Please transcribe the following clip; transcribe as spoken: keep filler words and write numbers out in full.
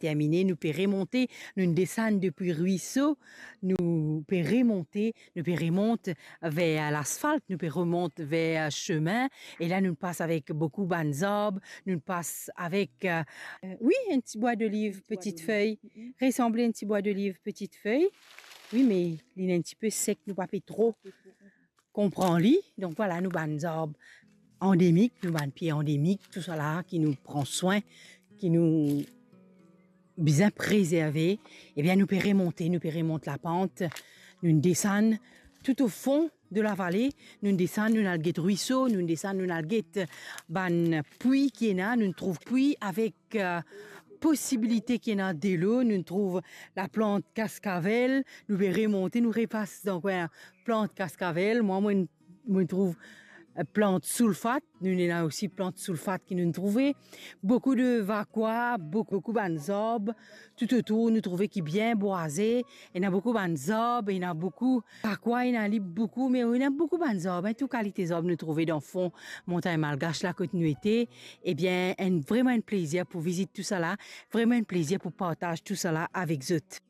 termine, nou pe remonte, nou desann depi rwiso, nou pe remonte, nou pe remont ver lasfalt, nou pe remont ver sime, e la nou pas avek boukou bann zarb, nou pas avek, euh, euh, wi, enn ti bwa doliv, petite feuille, resanble enn ti bwa doliv, petite feuille. Wi, me li enn ti pe sek, nou pa pe tro konpran li. Donk vwala, nou bann zarb andemik, nou bann pie andemik, tousala ki nou pran swin, ki nou bizin prezerve, ebien, nou pe remonte, nou pe remont lapant, nou desann tout o fon de lavale, nou desann, nou al get rwiso, nou desann, nou al get bann pwi ki ena, nou trouv pwi avek, euh, posibilite ki ena delo, nou trouv laplant kaskavel, nou pe remonte, nou repas dan kwin plant kaskavel. Mwa, mo, mo trouv, euh, plant soulfat, nou ena osi plant soulfat ki nou trouve. Boukou de vakwa, boukou, boukou bann zarb, toutotour nou trouve ki bien bwaze, ena boukou bann zarb, ena boukou vakwa, ena li boukou, me ena boukou bann zarb, en, tou kalite zarb nou trouve dan fon Montagn Malgash la kot nou ete. Ebien, enn, vreman enn plezir pou vizit tousala, vreman enn plezir pou partaz tousala avek zot.